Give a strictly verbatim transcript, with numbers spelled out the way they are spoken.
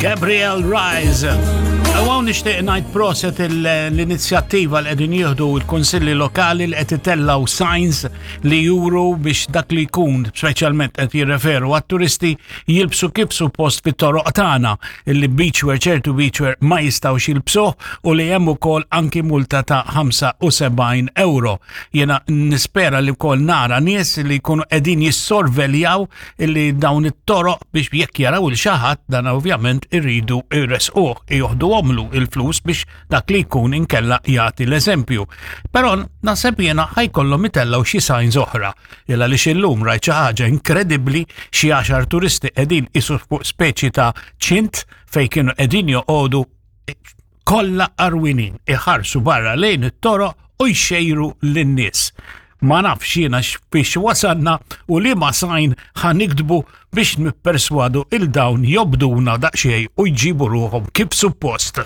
Gabriel Rise. U hawn nixtieq ngħid proset l-inizjattiva li qegħdin jieħdu l-kunsilli lokali li qed itellgħu signs li juru biex dak li jkun, speċjalment qed jirreferu għat-turisti, jilbsu kif suppost fit-toroq tagħna, illi beachwear, ċertu beachwear ma jistgħux jilbsuh u li hemm ukoll anki multa ta' ħamsa u sebgħin euro. Jiena nispera li wkoll nara nies li jkunu qegħdin jissorveljaw illi dawn it-toroq biex jekk jaraw lil xi ħadd, dan ovvjament irridu jresquh, joħduhomlu il-flus biex dak li jkun inkella jagħti l-eżempju. Però naħseb jiena ħa jkollhom itellgħu xi signs oħra. Illa li xillum rajt xi ħaġa inkredibbli, xi għaxar turisti qegħdin isu fuq speċi ta' ċint fejn kienu qegħdin joqogħdu, kollha għarwenin, iħarsu barra lejn it-toroq u jxejru lin-nies. Ma nafx jiena biex wasalna u li ma sign ħa niktbu biex nipperswadu lil dawn jobduna daqsxejn u jġibu ruħhom kif suppost.